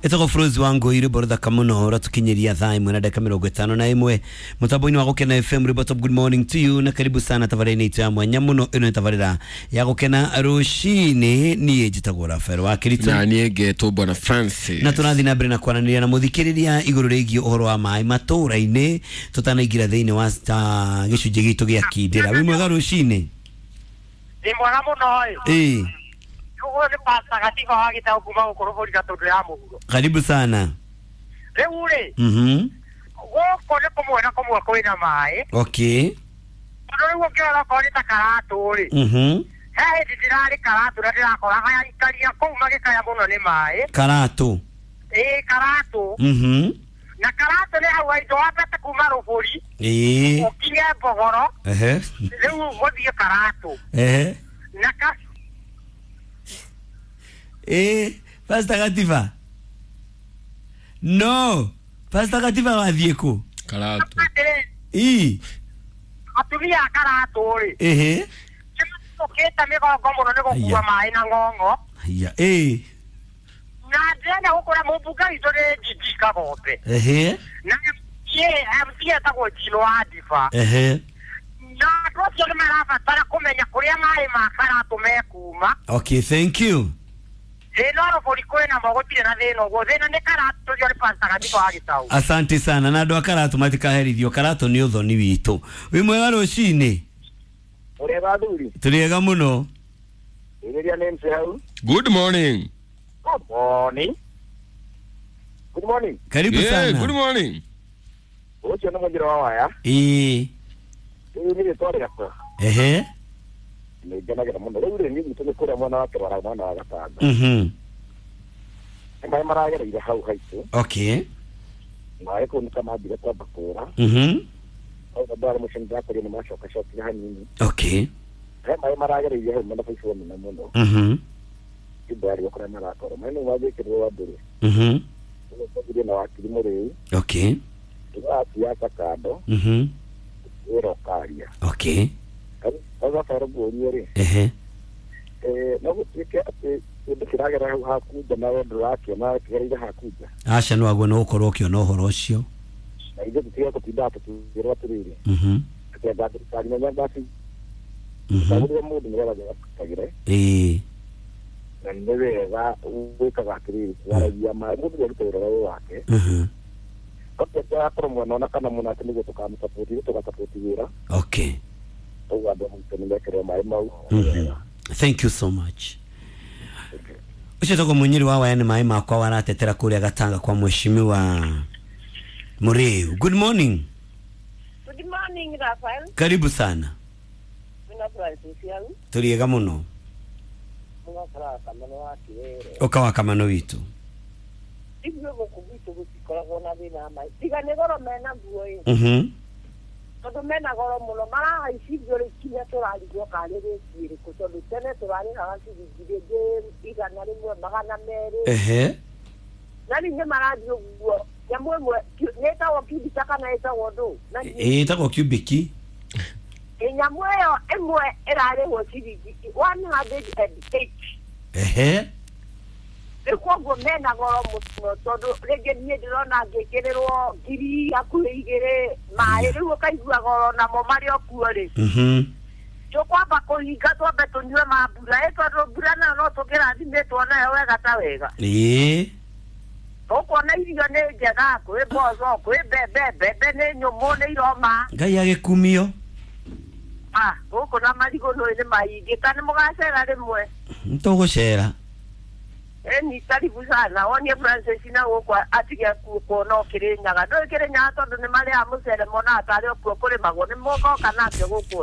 Etagwo Frozi wa Ngũi, rwĩmbo rũthaka mũno rũratũkinyĩria thaa 1 na dakika 51 mũtambo-inĩ wa Gũkena FM. Rwĩmbo top. Good morning to you na karibu sana tabarĩra-inĩ itũ ya mwanya mũno. Ĩno nĩ tabarĩra ya Gũkena rũcinĩ. Niĩ njĩtagwo Rafael wa Kĩritũ na niĩ ngetwo Bwana Francis. Na tũrathiĩ na mbere na kwaranĩria na mũthikĩrĩria igũrũ rĩgiĩ ũhoro wa maĩ matũũra-inĩ tũtanaingĩra thĩinĩ wa ta gĩcunjĩ gitũ gĩa kindĩra. Wĩ mwega rũcinĩ? Ndĩ mwega mũno ĩ. Ĩĩ. Ũyũ nĩ Pastor Gatiba wa Gĩtaũ kuma gũkũ Rũbũri Gatũndũ ya mũhuro. Karibu sana. Rĩu rĩ, gũkũ nĩ kũmwe na kũmwe kwĩna maĩ. Tondũ rĩu ũngĩrora okorwo nĩ ta Karatũ rĩ, he hĩndĩ ndĩrarĩ Karatũ na ndĩrakoraga aikaria kũu magĩkaya mũno nĩ maĩ. Karatũ. Ĩĩ, Karatũ. Na Karatũ nĩ hau indo wambate kuma Rũbũri ũkinye Mbogoro, rĩu ũthiĩ Karatũ. Na ka Pastor Gatiba. No, Pastor Gatiba wathiĩ kũ? Karatũ. Ii. Atumia a Karatũ rĩ, nĩmatũkĩte mĩgongo mũno nĩ gũkua maĩ na ng'ong'o. Haya. Ĩĩ. Na ndĩrenda gũkũra mũmbunge witũ nĩ Gigi Kagombe. Na MCA etagwo Njino wa Ndiba. Na andũ acio nĩ marabatara kũmenya kũrĩa maĩ ma Karatũ mekuma. Okay, thank you. Thĩna Rũbũri kwĩna mo, gũtirĩ na thĩna ũguo. Thĩna nĩ Karatũ, ũcio nĩ Pastor Gatiba wa Gĩtaũ. Asante sana. Na andũ a Karatũ matikaherithio. Karatũ nĩ ũthoni witũ. Wĩ mwega rũcinĩ? Ũrĩa athuri? Tũrĩega mũno. Ĩrĩria nĩ MC hau. Good morning. Good morning. Good morning. Karibu Yeah, sana. good morning. Ũcio nĩ mũnjĩra wa waya. Ĩĩ. Rĩu nĩ rĩtwa rĩakwa. Nĩ ngenagĩra mũno. Rĩu rĩ, niĩ gwitũ nĩ kũrĩa mwena wa Kĩrwara, mwena wa Gatanga. Nĩ maĩ maragereire hau haitũ. Maĩ kũu nĩ ta mambire kwamba kũra. Hau ndwarĩ mũciĩ nĩndakũrio nĩ macoka cokire hanini. He maĩ maragereire hau mena baibũ nene mũno. Ndwarĩo kũrĩa marakorwo. Maĩ mau mangĩkĩrwo wa mbere. Ũgũthiĩ na wakiri mũrĩu. Ũgatiaca kando. Wĩra ũkaria. Hau gabaro nguũrie rĩ. No gũtuĩke atĩ kĩndũ kĩragera hau haku nja nawe ndũrakĩona kĩgereire haku nja. Aca, no aguo no gũkorwo ũkĩona ũhoro ũcio. Na ithuĩ tũtige gũtinda tũkĩrwo atĩrĩrĩ. Atĩ anga thirikari na nyambaci. Tagũrĩre mũndũ nĩgetha gĩgakagĩre. Ĩĩ. Na nĩ wega gwĩkaga atĩrĩrĩ, kwaragia maĩ mũndũ nĩarute wĩra ũrĩa wĩ wake. Gakorwo mwena ona kana mũna atĩ nĩguo tũkamũsapoti, tũgasapoti wĩra. Ũguo andũ a gwitũ nĩmekĩrwo maĩ mau. Thank you so much. Ũcio tagwo Mũnyiri wa Waya, nĩ maĩ makwa waratetera kũrĩa Gatanga kwa Mheshimiwa Mũrĩu. Good morning. Good morning, Rafael. Karibu sana. Mina Francis yangu. Tũrĩega mũno. Mũgakora kamano wa Kĩwere. Ũka wa kamano witũ. Ithuĩ gũkũ gwitũ gũtikoragwo na thĩna wa maĩ. Tiga nĩ goro mena guo ĩ. Tondũ mena goro mũno marahaicithio rĩ kinya tũrarigwo kana nĩ rĩti ĩrĩkũ, tondũ tene tũrarĩhaga ciringi rĩngĩ 100, 200. Na rĩu nĩ marathiĩ ũguo. Nyamũ ĩmwe nĩ ĩtagwo cubic kana ĩtagwo ndũ? Ĩtagwo cubic. Nyamũ ĩyo ĩmwe ĩrarĩhwo ciringi 108. Rĩu koguo mena goro mũno, tondũ rĩngĩ niĩ ndĩrona ngĩkĩrĩrwo 2,000 maĩ, rĩu ũkaigua goro namo marĩ o kuo rĩ. Tũkwamba kũhinga twambe tũnyue ma mbura, ĩ tondũ mbura nayo no tũkĩrathimĩtwo nayo wega ta wega. Ũkuona irio nĩ njega, kwĩ mboco, kwĩ mbembe, mbembe nĩ nyũmũ, nĩ iroma. Ngai agĩkumio. Gũkũ na marigũ nĩ maingĩ, ta nĩ mũgacera rĩmwe. Nĩtũgũcera. Ni karibu sana. Wonie Francis na gũkũ atige kuona Kĩrĩnyaga. Ndũĩ Kĩrĩnyaga tondũ nĩ marĩaga mũcere monaga tarĩ o kuo kũrĩmagwo. Nĩ mũgoka nake gũkũ.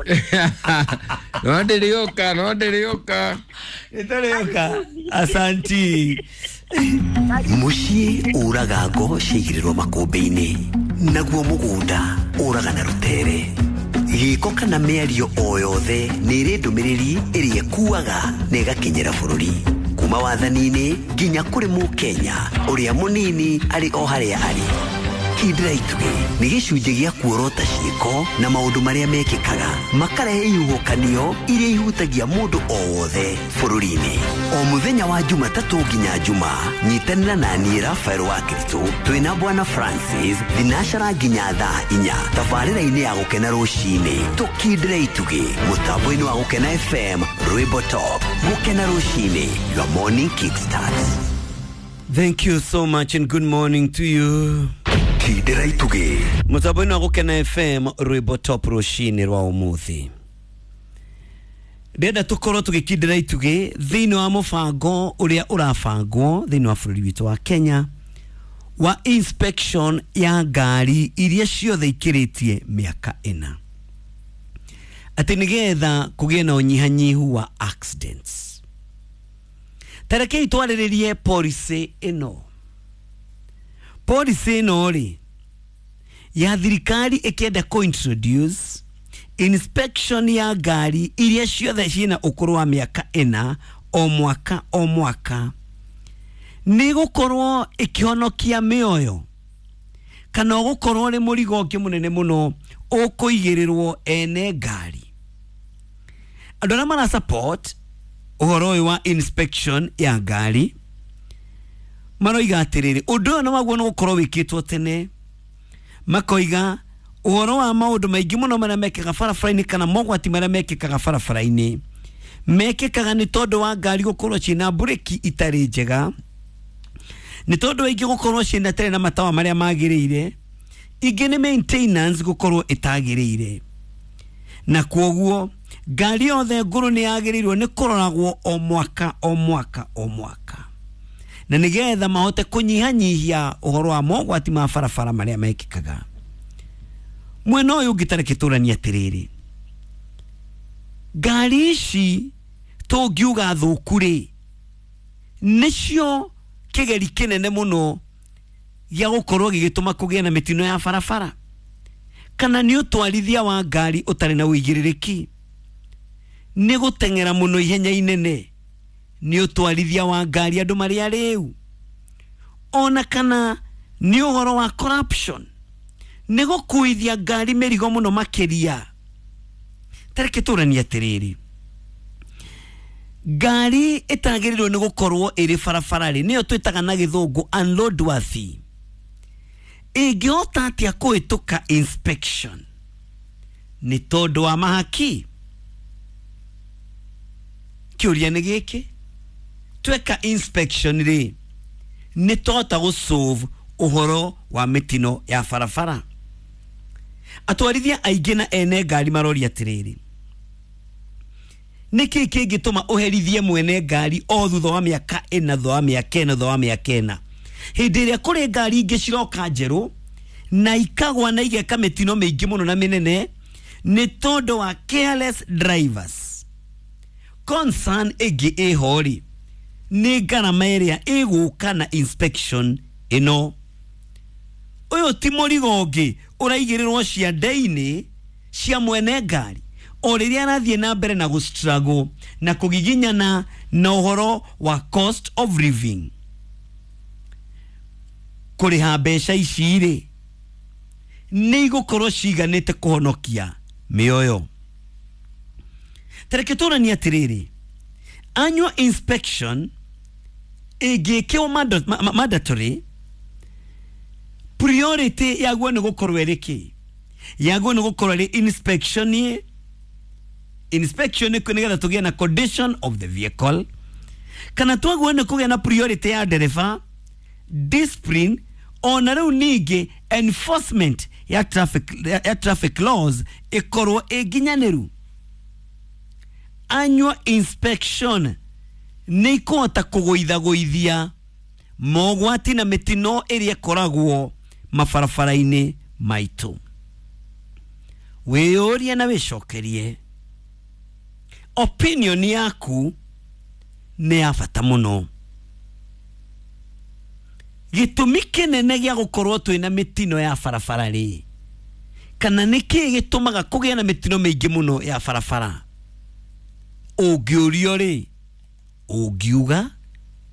No ndĩrĩũka, no ndĩrĩũka. Nĩtũrĩũka. Asanti. Mũciĩ ũraga ngo ciaigĩrĩrwo makũmbĩ-inĩ, naguo mũgũnda ũraga na rũtere. Gĩko kana mĩario o yothe nĩ ĩrĩ ndũmĩrĩri ĩrĩa ĩkuaga na ĩgakinyĩra bũrũri. Kuma wathani-inĩ nginya kũrĩ mũkenya ũrĩa mũnini arĩ o harĩa arĩ. Kindĩra itugĩ nĩ gĩcunjĩ gĩa kuorota ciĩko na maũndũ marĩa mekĩkaga makarehe ihuhũkanio iria ihutagia mũndũ o wothe bũrũri-inĩ. O mũthenya wa Jumatatũ nginya Juma, nyitanĩra na niĩ Rafael wa Kristo twĩna Bwana Francis thinacara nginya thaa 4 tabarĩra-inĩ ya Gũkena rũcinĩ. Tũkindĩre itugĩ mũtambo-inĩ wa Gũkena FM, Rwĩmbo Top. Gũkena rũcinĩ, your morning kickstart. Thank you so much and good morning to you. Kindĩra itugĩ Mũtambo-inĩ wa Gũkena FM, Rwĩmbo Top rũcinĩ rwa ũmũthĩ. Ndĩrenda tũkorwo tũgĩkindĩra itugĩ thĩinĩ wa mũbango ũrĩa ũrabangwo thĩinĩ wa bũrũri witũ wa Kenya wa inspection ya ngari iria ciothe ikĩrĩtie mĩaka 4, atĩ nĩgetha kũgĩe na ũnyihanyihu wa accidents. Tarekei twarĩrĩrie policy ĩno. Policy ĩno rĩ ya thirikari ĩkĩenda kũ-introduce inspection ya ngari iria ciothe ciĩna ũkũrũ wa mĩaka 4 o mwaka o mwaka, nĩ gũkorwo ĩkĩhonokia mĩoyo kana ũgũkorwo nĩ mũrigo ũngĩ mũnene mũno ũkũigĩrĩrwo ene ngari. Andũ arĩa mara support ũhoro ũyũ wa inspection ya ngari maroiga atĩrĩrĩ, ũndũ ũyũ nĩ waguo nĩ gũkorwo wĩkĩtwo tene. Makoiga ũhoro wa maũndũ maingĩ mũno marĩa mekĩkaga barabara-inĩ kana mogwati marĩa mekĩkaga barabara-inĩ mekĩkaga nĩ tondũ wa ngari gũkorwo ciĩna mburĩki itarĩ njega, nĩ tondũ ingĩ gũkorwo ciĩna itarĩ na matawa marĩa magĩrĩire, ingĩ nĩ maintenance gũkorwo ĩtagĩrĩire, na kwoguo ngari yothe ngũrũ nĩ yagĩrĩirwo nĩ kũroragwo o mwaka o mwaka o mwaka, na nĩgetha mahote kũnyihanyihia ũhoro wa mogwati ma barabara marĩa mekĩkaga. Mwena ũyũ ũngĩ tareke tũranie atĩrĩrĩ, ngari ici tũngiuga thũku rĩ, nĩcio kĩgeri kĩnene mũno gĩa gũkorwo gĩgĩtũma kũgĩe na mĩtino ya barabara, kana nĩ ũtwarithia wa ngari ũtarĩ na ũigĩrĩrĩki, nĩ gũteng'era mũno ihenya inene, nĩ ũtwarithia wa ngari andũ marĩa rĩu, ona kana nĩ ũhoro wa corruption, nĩ gũkuithia ngari mĩrigo mũno makĩria. Tareke tũranie atĩrĩrĩ, ngari ĩtagĩrĩirwo nĩ gũkorwo ĩrĩ barabara-rĩ, nĩyo twĩtaga na gĩthũngũ unloadworthy, ĩngĩhota atĩa kũhĩtũka inspection nĩ tondũ wa mahaki? Kĩũria nĩ gĩkĩ, tweka inspection rĩ, nĩ twahota gũsolve ũhoro wa mĩtino ya barabara? Atwarithia aingĩ na ene ngari maroria atĩrĩrĩ, nĩkĩ kĩngĩtũma ũherithie mwene ngari o thutha wa mĩaka 4, thutha wa mĩaka 4, thutha wa mĩaka 4, hĩndĩ ĩrĩa kũrĩ ngari ingĩ ciroka njerũ na ikagwa na igeka mĩtino mĩingĩ mũno na mĩnene nĩ tondũ wa careless drivers? Concern ĩngĩ ĩho rĩ, nĩ ngarama ĩrĩa ĩgũka na inspection ĩno. Ũyũ ti mũrigo ũngĩ ũraigĩrĩrwo ciande-inĩ cia mwene ngari o rĩrĩa arathiĩ na mbere na gũstruggle na kũgiginyana na ũhoro wa cost of living. Kũrĩha mbeca ici rĩ, nĩ igũkorwo ciganĩte kũhonokia mĩoyo. Tareke tũranie atĩrĩrĩ, annual inspection ĩngĩkĩrwo mandatory, priority yaguo nĩ gũkorwo ĩrĩ kĩ? Yaguo nĩ gũkorwo ĩrĩ inspection. Inspection nĩ nĩgetha tũgĩe na condition of the vehicle, kana twaguo nĩ kũgĩa na priority ya ndereba, discipline, ona rĩu ningĩ enforcement ya traffic laws ĩkorwo ĩnginyanĩru. Annual inspection nĩ ikũhota kũgũithagũithia mogwati na mĩtino ĩrĩa ĩkoragwo mabarabara-inĩ maitũ. Wĩyũrie na wĩcokerie, opinion yaku nĩ ya bata mũno. Gĩtũmi kĩnene gĩa gũkorwo twĩna mĩtino ya barabara rĩ, kana nĩkĩĩ gĩtũmaga kũgĩe na mĩtino mĩingĩ mũno ya barabara? Ũngĩũrio rĩ, ũngiuga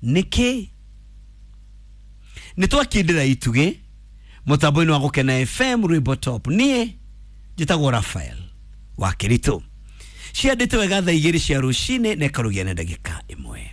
nĩkĩ? Nĩ twakindĩra itugĩ Mũtambo-inĩ wa Gũkena FM rwĩmbo top. Niĩ njĩtagwo Rafael wa Kĩritũ. Ciandĩte wega thaa 2 cia rũcinĩ na ĩkarugia na ndagĩka 1.